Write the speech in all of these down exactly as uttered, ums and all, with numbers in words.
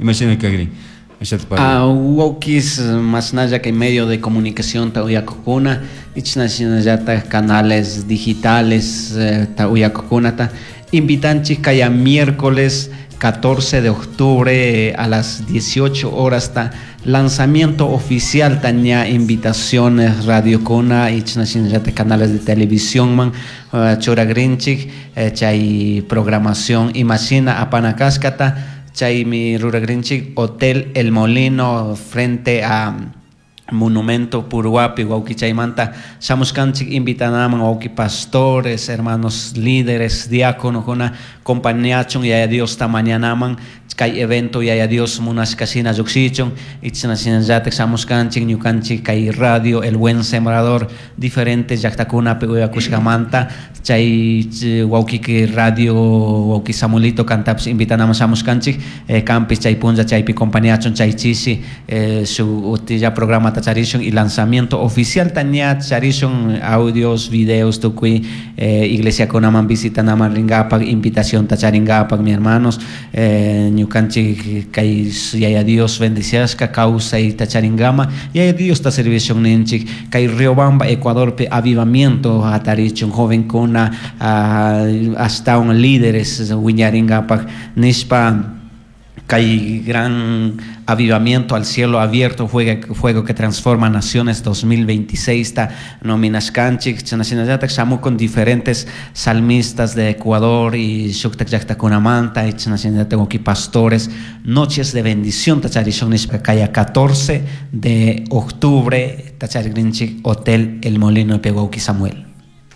Imashina kagrin. Ah, wawkis mashnalla kay medio de comunicación ta uyakukuna ichna canales digitales eh, ta uyakukunata invitanchik kaya miércoles catorce de octubre eh, a las dieciocho horas ta lanzamiento oficial taña invitaciones radio kuna ichna shinallata canales de televisión man uh, churagrinchik eh, chay programación imashina apana kashkata chaymi ruragrinchik Hotel El Molino frente a Monumento Purhuapi, wawki chaymanta shamushkanchik invitanaman wawki pastores, hermanos líderes, diáconos, kuna compañachun yaya Dios ta mañanaman kay evento yaya Dios munashka shina llukshichun ichna shinallatak shamushkanchik ñukanchik kay radio El Buen Sembrador diferentes llaktakunapi uyakushkamanta chay wawkiki radio wawki Samuelito kantapish invitanaman shamushkanchik eh, kanpish chay punlla chaypi compañachun chay chishi eh, su utilla programa charishun y lanzamiento oficial taña charishun audios, videos tukuy eh, iglesia kunaman visitanaman ringapak invitación ta charingapak mi hermanos eh, ñukanchik kay yaya Dios bendiciashka kawsay ta charingama yaya Dios ta servicio ninchik kay Riobamba Ecuadorpi avivamiento hatarichun jovenkuna uh, hasta un líderes wiñaringapak nishpa kay gran avivamiento al cielo abierto, fuego, fuego que transforma naciones dos mil veintiséis, ta nominashkanchik, chanashinallatak shamu con diferentes salmistas de Ecuador y shuktak llaktakunamanta, y chanashinallatak aquí pastores, noches de bendición, tacharishon nishpa kaya catorce de octubre, tacharigrinchik, Hotel El Molino de Pehuauqui Samuel.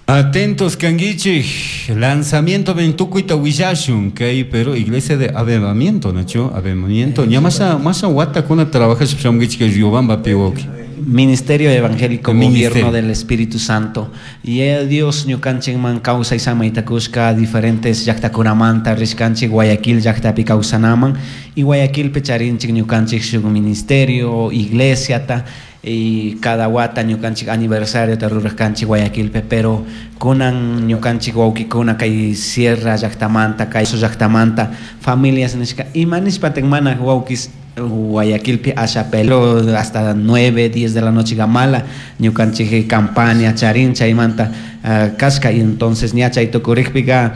Atentos, kanguichik, lanzamiento ventucuita huillashun, kay, pero iglesia de avivamiento, ¿no? Avivamiento. Ya más a, más a guata con trabajas, shamgichik, Riobamba, Pehuauqui. Ministerio Evangélico, Ministerio. Gobierno del Espíritu Santo. Y Dios ñukanchik man causa y sama itakushka diferentes llaktakunamanta rishkanchik Guayaquil llaktapi kawsanaman y Guayaquil pecharinchik ñukanchik shuk ministerio, iglesia ta y cada wata ñukanchik aniversario ta rurashkanchik Guayaquilpe, pero kunan ñukanchik wawkikuna kay sierra llaktamanta, kay llaktamanta familias nishka ima nishpa mana wawkis Guayaquilpi asha pelo hasta nueve, diez de la noche gamala ñukanchik campaña charin chaymanta uh, kashka y entonces ña chay tukurikpika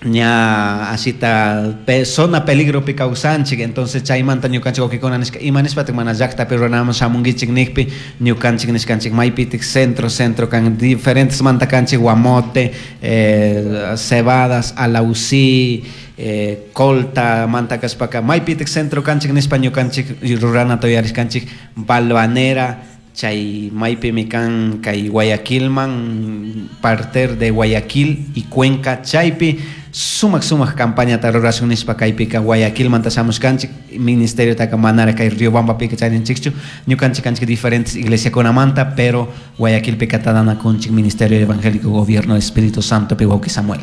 ña asita pe, zona peligro pi kawsanchik entonces chaymanta ñukanchik wawkikuna nishka ima nishpatik mana llaktapi runaman shamunkichik nikpi ñukanchik nishkanchik maypitik centro centro kan diferentes manta kanchik Guamote, eh, Cebadas, Alausí, eh, Colta, manta kashpaka maypitik centro kanchik nishpa ñukanchik rurana toyarishkanchik Balvanera chay maypimi kan kay Guayaquilman parter de Guayaquil y Cuenca chaypi sumak sumak campaña ta rurashun nishpa kaypika Guayaquilmanta shamushkanchik ministerio taka manara kay Riobambapika charinchikchu ñukanchik kanchik diferentes iglesiakunamanta pero Guayaquilpika tadanakunchik Ministerio Evangélico Gobierno Espíritu Santo pi wawki Samuel.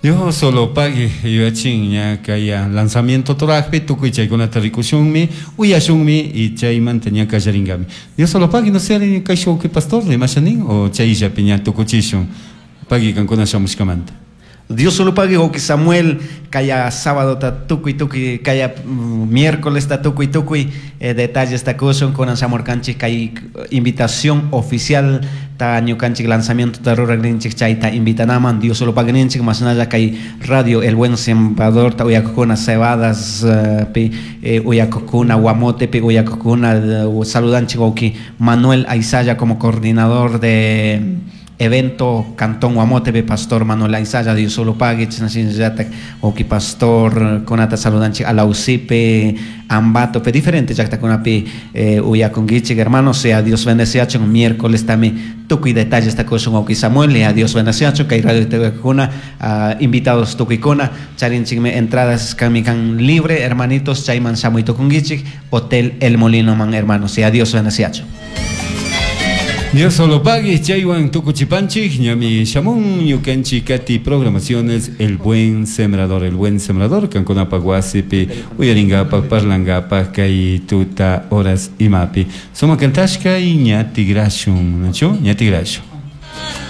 Dios solo pague yachin ya kaya lanzamiento torajpi tukuy chaykunata rikushunmi uyashunmi y chaymanta ña kallaringami. Dios solo pague no sé kay shawki pastor rimashanin o chayllapi ña tukuchishun pagui kankuna shamushkamanta. Dios solo pague wawki Samuel kaya sábado ta tukuy tukuy kaya miércoles ta tukuy tukuy eh, detalles ta kushun kunan shamurkanchik kay invitación oficial ta ñukanchik lanzamiento ta ruragrinchik chayta invitanaman Dios solo pague ninchik masnalla kay radio El Buen Sembrador ta uyakukuna Cebadas uh, pi eh, uyakukuna Guamote pi uyakukuna uh, saludanchik wawki Manuel Aizaya como coordinador de evento Cantón Guamote, Pastor Manuel Aizaya, Dios solo pague, oki pastor, konata saludanchi Alausipe, Ambato, pe diferente llaktakunapi eh, uyakunkichik hermanos, sea Dios bendeciacho, miércoles también tukuy detalles ta kushun wawki Samuel, y a Dios bendeciacho, kay radio T V uh, invitados tukuykuna, charinchikmi entradas kamikan libre, hermanitos, chayman shamuy tukunkichik, Hotel El Molino man hermanos, sea Dios bendeciacho. Dios solo pague, chaywan tukuchipanchik, ñami shamun, ñukanchik kati programaciones, El Buen Sembrador, El Buen Sembrador, kankunapa wasipi, uyaringapa, parlangapa, kay tuta horas imapi. Suma kantashka y ña tigrashun, ¿nachu? Ña tigrashun.